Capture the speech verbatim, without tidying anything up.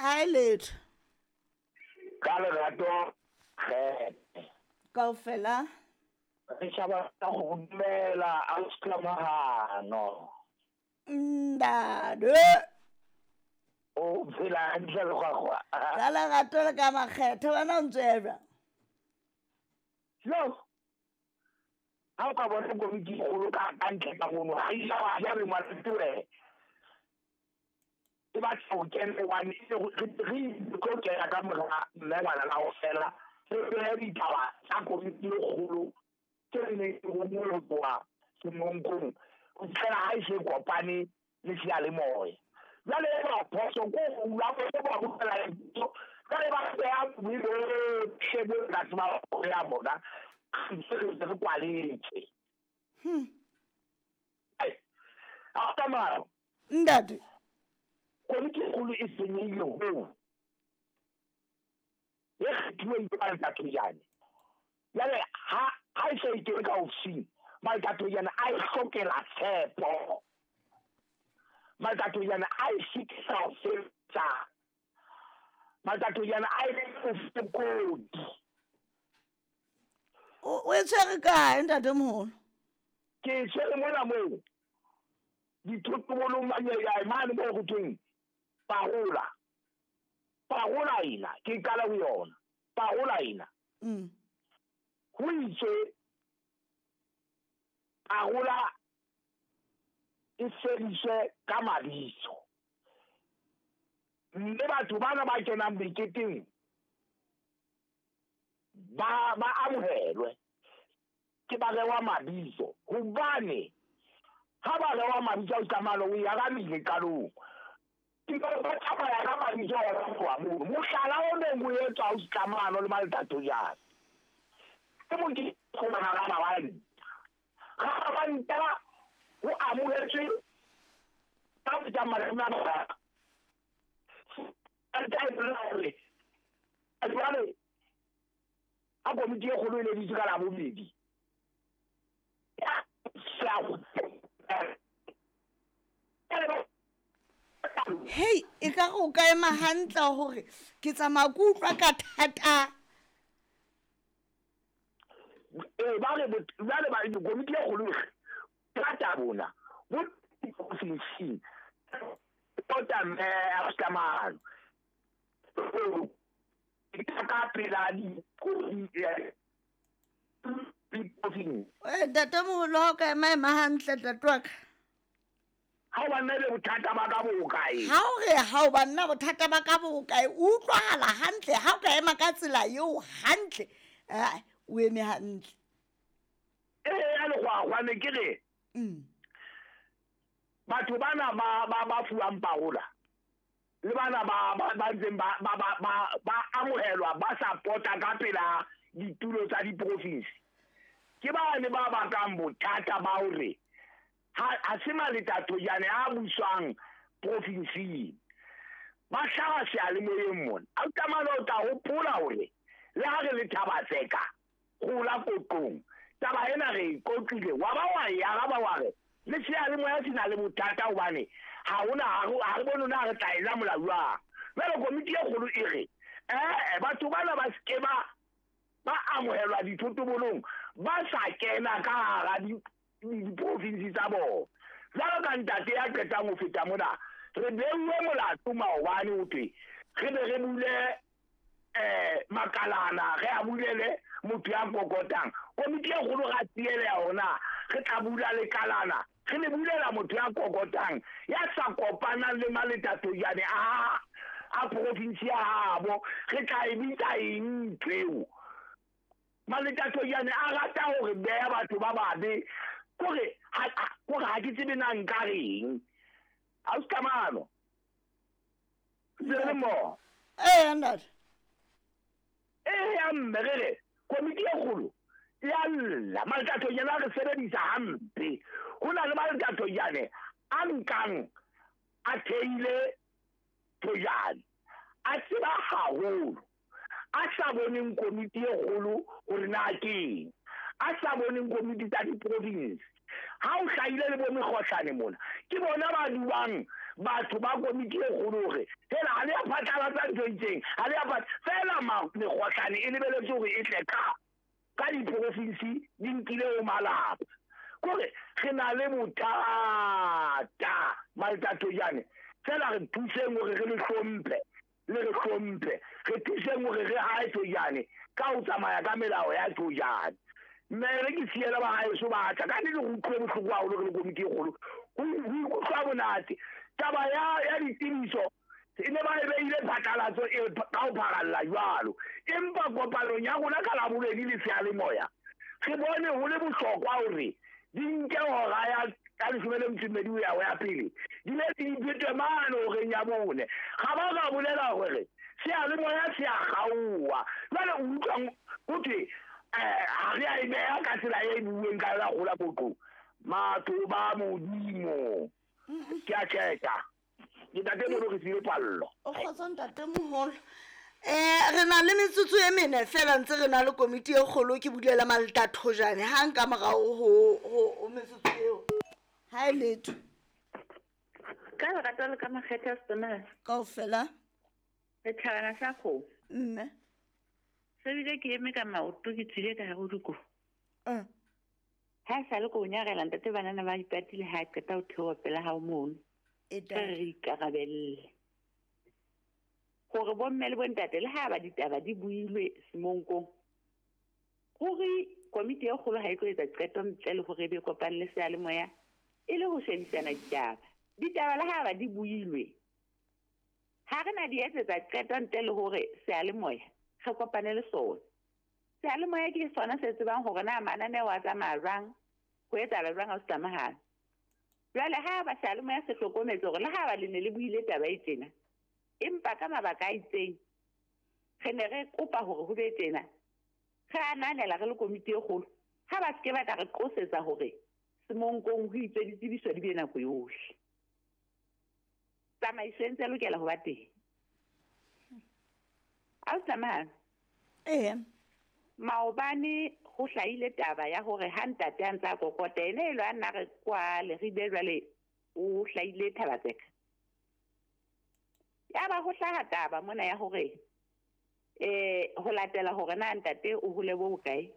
Ha e letho. Ka lerato kgethe. Kaofela. Re tjhaba ka go dumela a o Ndade. O phela hantle le gwagwa. Ka lerato le ka makgethe wena o ntse jwang? Yo. Ha o ka bona komiti e kgolo ka ka ntle ka mono, ha e sa wa ya re ngwana e batla ho kena hobane re tlo kena ka mora mme ngwana la ho fela re behe ditaba tsa komiti e kgolo tse re neng re bonngwe ho tloha semonkong ho fihlela ha e se kopane le seyalemoya. Jwale e ba phoso ko ho hula ba bopela lebitso, jwale ba beha bohle bo ka tseba ho ya bona re re kwaletse. Hmm. Ha tsamaya. Ntate. Komiti e kgolo e senyehile hoo. E kgethuweng ke Maletathojane. Jwale ha ha e se e kene ka ofising, Maletathojane a e hlokela tshepo. Maletathojane a e sitisa ho sebetsa. Maletathojane a e bofokodi. O e tshwere kae ntatemoholo? Ke e tshwere mona moo. Dithotobolong mane moo ho thweng parola. Parola ena, ke qala ho yona. Parola ena. Mm. Ho itswe parola e fediswe ka mabitso. Mme batho bana ba kenang meketeng ba ba amohelwe ke ba rewa mabitso hobane ha ba rewa mabitso a tsamalo o ya ka qalong. Ke ba tsamaya ka mabitso a tloha mono. Mohlala o neng o etswa o tsamano le Maletathojane. Ke mo ke khona ga mabane. Ga ba nta ho amohetswe ka tsamaya le ba. Nta e hore jwale a komiti e kgolo e leditse ka Labobedi. Hei, e ka re o ka ema hantle hore ke tsamaya ke utlwa ka thata. Eh ba re jwale ba komiti e kgolo thata bona bo ofising tota mme a tsamaya ka pela di Eh ntatemoholo ha o ka ema ema hantle ntate wa ka. Ha o banna le bothata ba ka bo kae? Ha o re ha o banna bothata ba ka bo kae? O utlwahala hantle ha o ka ema ka tsela eo hantle. Eh o eme hantle. Eh ya le gwagwa ne ke re. Mm. Batho bana ba ba ba fuwang parola. Le bana ba ba ba ntseng ba ba ba ba amohelwa ba support-a ka pela ditulo tsa diprovince. Ke bane ba bakang bothata ba hore ha ha se Maletathojane a buswang provinseng. Ba hlaha seyalemoyeng mona. A tsamaya o tla hopola hore le ha re le Thaba-Tseka gola koqong. Taba ena re e qoqile wa ba wa e araba wa re le seyalemoya se na le bothata hobane ha hona ha re bone na re tla ela molao jwang. Jwale komiti e kgolo e re eh batho bana ba se ke ba ba amohelwa dithotobolong ba sa kena ka hara diprovinsi tsa bona. Jwalo ka ntate ya qetang ho feta mona re beuwe molato maobane ho thwe re be re bule eh makalana re a bulele motho ya kokotang. Komiti e kgolo ra tiele yona re tla bula lekalana re le bulela motho ya kokotang ya sa kopanang le Maletathojane a a province ya habo re tla e bitsa eng ntho eo. Maletathojane a rata hore beha batho ba babe kore ha kore ha ke tsebe na nka reng. Ha o tsamano. Tsebe mo. Eh ntate. Eh ya mme re re komiti e kgolo ya lla Maletathojane a re sebedisa hampe. Ho na le Maletathojane a nkang a theile Thojane a tseba haholo a sa boneng komiti e kgolo hore na ke eng, a sa boneng komiti tsa diprovince Ha o hlahile le bo mekgohlane mona ke bona ba duang batho ba komiti e kgolo hore fela ha le ya phatlalatsa ntho e itseng ha le ya fela mekgohlane e lebeletse hore e tle ka ka diprofinsi di nkile ho malapa. Kore re na le bothata Maltatojane fela re thuseng hore re le hlomphe le re hlomphe re thuseng hore re hae Tojane ka ho tsamaya ka melao ya Tojane. Mme re ke siela ba haeso ba tla ka nnete re utlwe bohloko haholo re le komiti e kgolo ho ikutlwa monate. Taba ya ya ditsebiso e ne ba e beile phatlalatso e ka ho pharalla jwalo, empa kopanong ya rona ka Labobedi le seyalemoya re bone ho le bohlokwa hore di nke hora ya ka leshome le metso e mmedi ho ya ho ya pele di ne di phetwe mane horeng ya bone. Ga ba ka bolela hore seyalemoya se a kgaoha. Jwale o utlwang ho thwe ha re a e beha ka tsela e buuweng ka yona kgola qoqong. Batho ba Modimo ke a tjeka ke ntate moholo re file pallo. O kgotso ntate moholo. Eh re na le metsotso e mene fela ntse re na le komiti e kgolo ke bulela Maltatojane ha nka morao ho ho metsotso eo. Ha e letho. Ka lerato le ka makgethe a Setonela. Kaofela. Re thabana sa kgomo. Mme. Se bile ke eme ka maoto ke tswile ka hare ho dikobo. Eh. Ha e sale ko nyarela ntate banana ba ipatile ha qeta ho theoha pela hao mono. E Re re ikarabelle. Hore bomme le bontate le ha ba ditaba di builwe semonkong. Hore komiti e kgolo ha e tlo etsa qeto ntle le hore e be kopane le seyalemoya e le ho shebisana ditaba. Ditaba le ha ba di builwe. Ha re na di etsetsa qeto ntle le hore seyalemoya re kopane le sona. Seyalemoya ke sona se tsebang hore na mananeo a tsamaya jwang, ho etsahala jwang ha o se tlamahale. Jwale ha ba seyalemoya se hlokometse hore le ha ba le ne le buile taba e tjena, empa ka mabaka a itseng re ne re kopa hore ho be tjena, re ananela re le komiti e kgolo. Ha ba se ke ba tla re qosetsa hore semonkong ho itswe ditsebiso di be nako yohle. Tsamaiso e ntse e lokela ho ba teng. Ausi Eh. Maobane ho hlahile taba ya hore ha ntate a ntse a kokota ene e lo a nna re kwa Leribe jwale o hlahile Thabatseka. Ya ba ho hlaha taba mona ya hore eh ho latela hore na ntate o hole bo bokae.